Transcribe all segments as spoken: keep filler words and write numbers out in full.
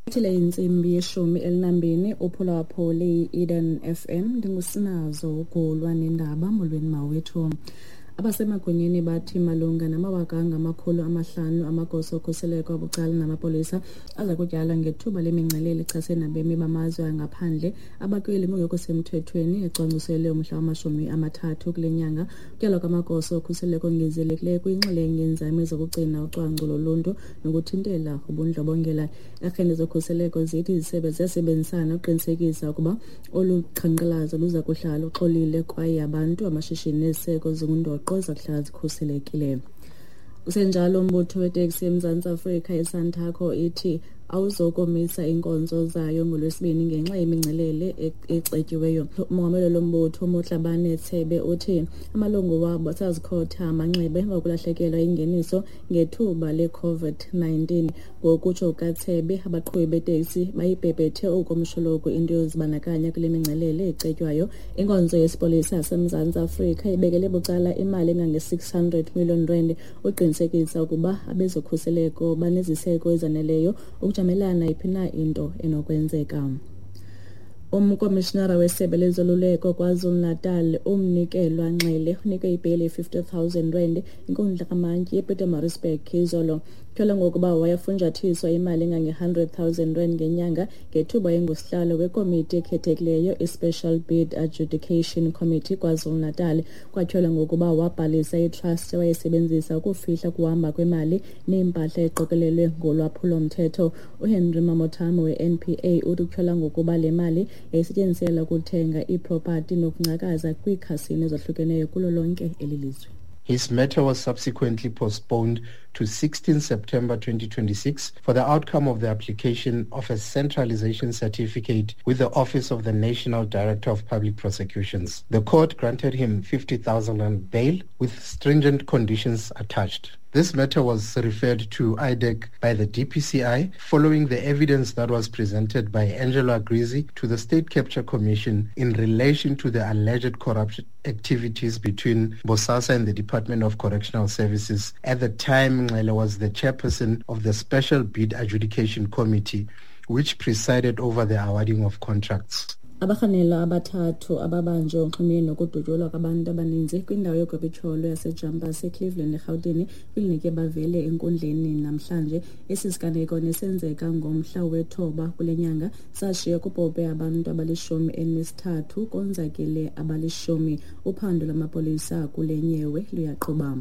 Ithile intsimbi yeshumi elinambini uphulaphule i-Eden F M. Ndingusinazo uGulwa nendaba. Molweni mawethu. Abasemagunyeni bathi malunga namawaka angamakhulu amahlanu amagosa okhuseleko abucala namapolisa aza kutyalwa ngethuba lemingcelele echasene nabemi bamazwe angaphandle abakweli ngokungekho semthethweni ecwangciselwe umhla wamashumi amathathu kule nyanga. Ukutyalwa kwamagosa okhuseleko ongezelekileyo kuyinxalenye yeenzame zokugcina ucwangco loluntu nokuthintela ubundlobongela. Iiarhente zokhuseleko zithi izisebe ziyasebenzisana ukuqinisekisa ukuba olu qhankqalazo luza kuhlala luxolile kwaye abantu, amashishini neziseko zingundoqo zakuhlala zikhuselekile. Kusenjalo, umbutho weteksi eMzantsi Afrika iSantaco ithi awuzokomisa iinkonzo zayo ngoLwesibini ngenxa yemingcelele ecetyiweyo. Umongameli lombutho uMotlabane Tsebe uthi amalungu wabo asazikhotha amanxeba emva kokulahlekelwa ingeniso ngethuba le-COVID nineteen. Ngokutsho kukaTsebe, abaqhubi beteksi bayibhebhethe okomshologu into yozibandakanya kule mingcelele ecetywayo. Inkonzo yesipolisa yaseMzantsi Afrika ibekele bucala imali engange-six hundred million rand uqinisekisa ukuba abezokhuseleko baneziseko ezaneleyo ukujamelana nayiphi na into enokwenzeka. Umkomishinara wesebe lezoluleko KwaZulu-Natal uMnikelwa Nxele unikwe ibheyile ye-fifty thousand rand inkundla kamantyi yePietermaritzburg izolo. Tyholwa ngokuba wayefunjathiswa imali engange-hundred thousand rand ngenyanga ngethuba engusihlalo wekomiti ekhethekileyo i-Special Bid Adjudication Committee KwaZulu-Natal. Kwatyholwa ngokuba wabhalisa itrust awayesebenzisa ukufihla ukuhamba kwemali neempahla eqokelelwe ngolwaphulo-mthetho. UHenry Mamothame we-N P A uthi kutyholwa ngokuba le mali yayisetyenziselwa ukuthenga iipropati nokungcakaza kwiikhasino ezahlukeneyo kulo lonke eli lizwe. His matter was subsequently postponed to sixteenth September twenty twenty-six for the outcome of the application of a centralization certificate with the Office of the National Director of Public Prosecutions. The court granted him fifty thousand rand bail with stringent conditions attached. This matter was referred to I D E C by the D P C I following the evidence that was presented by Angelo Agrizzi to the State Capture Commission in relation to the alleged corruption activities between Bosasa and the Department of Correctional Services. At the time, Nxele was the chairperson of the Special Bid Adjudication Committee, which presided over the awarding of contracts. Abarhanelwa abathathu ababanjwe unximeni nokudutyulwa kwabantu abaninzi kwindawo yogobitsholo yaseJampas eCleveland eRhawutini kwilinike bavele enkundleni namhlanje. Esi siganeko nesenzeka ngomhla wethoba kule nyanga sashiya kubhubhe abantu abalishumi elinesithathu konzakele abalishumi. Uphando lwamapolisa kule nyewe luyaqhuba.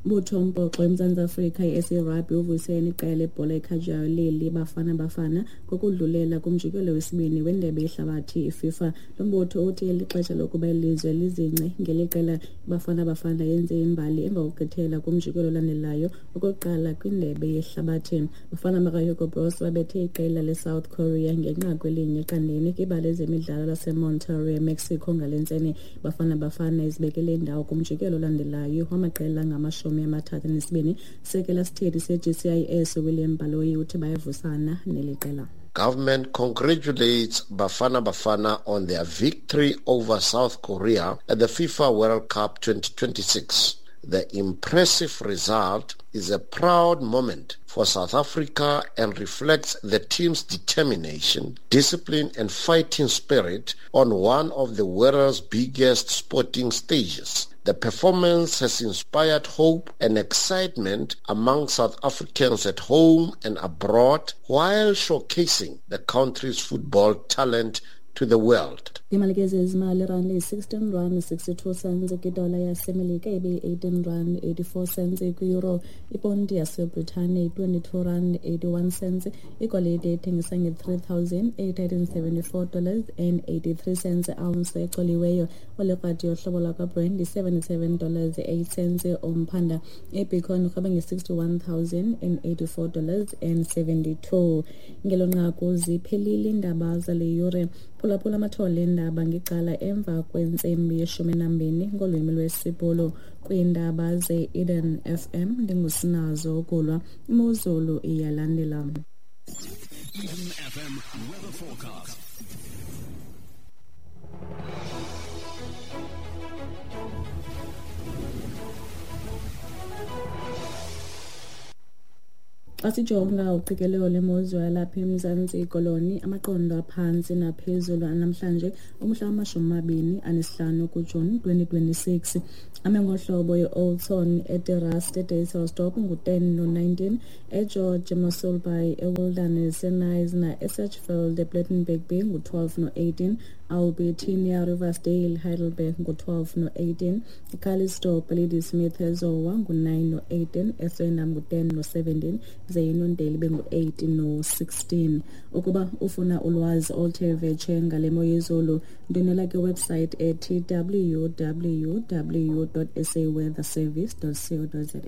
Mbutho umbhoxo eMzantsi Afrika i-S A Rugby uvuyisene iqela lebhola ekhatywayo leli Bafana Bafana ngokudlulela kumjikelo wesibini wendebe yehlabathi iFIFA. Lo mbutho uthi lixesha lokuba ilizwe lizince ngeli qela Bafana Bafana yenze imbali emva kokugqithela kumjikelo olandelayo okokuqala kwindebe yehlabathi. Bafana bakaHugo Broos babethe iqela leSouth Korea ngenqaku elinye eqandeni kwibala lezemidlalo laseMonterrey, Mexico ngale ntseni. Bafana Bafana izibekele indawo kumjikelo olandelayo wamaqela angamashumi amathathu anesibini. Sekela sithethi se-G C I S William Baloyi uthi bayavusana neli qela. Government congratulates Bafana Bafana on their victory over South Korea at the FIFA World Cup twenty twenty-six. The impressive result is a proud moment for South Africa and reflects the team's determination, discipline and fighting spirit on one of the world's biggest sporting stages. The performance has inspired hope and excitement among South Africans at home and abroad, while showcasing the country's football talent to the world. Imali ke zezimali rand iyi-sixteen rand sixty-two cents kwidola yaseMelika ibe yi-eighteen rand eighty-four cents kwi-euro. Iponti yaseBritane yi-twenty-two rand eighty-one cents. Igolide ithengisa nge-three thousand eight hundred and seventy-four dollars and eighty-three cents ounce ecoliweyo. Olekrati yohlobo lwakwaBrent yi-seventy-seven dollars eight cents umphanda. IBitcoin irhweba nge-sixty-one thousand and eighty-four dollars and seventy-two. Ngelo nqaku ziphelile iindaba zale yure. Phulaphula amathole eendaba ngecala emva kwentsimbi yeshumi nambini ngolwimi lwesiBhulu. Kwiindaba ze-Eden F M ndingusinazo ukulwa. Imozulu iyalandela. Eden F M weather forecast. Xa sijonga uqikelelo lemozulu yalapha eMzantsi Koloni, amaqondo aphantsi naphezulu anamhlanje umhla wamashumi amabini anesihlanu kuJuni twenty twenty-six. Ame ngohlobo i-Oudtshoorn, eTerrace, eDysselsdorp ngu-ten no-nineteen, eGeorge, eMossel Bay, eWilderness, eKnysna, eSedgefield, ePlettenberg Bay ngu-twelve no-eighteen, Albertinia, Riversdale, Heidelberg ngu-twelve no-eighteen, Calitzdorp, Ladysmith, eZowa ngu-nine no-eighteen, eSwellendam ngu-ten no-seventeen, ze iNondeli bengu-eight no-sixteen. Ukuba ufuna ulwazi oluthe vetshe ngale mo yezulu, ndwendwela kwiwebsite ethi w w w dot s a weather service dot co dot za.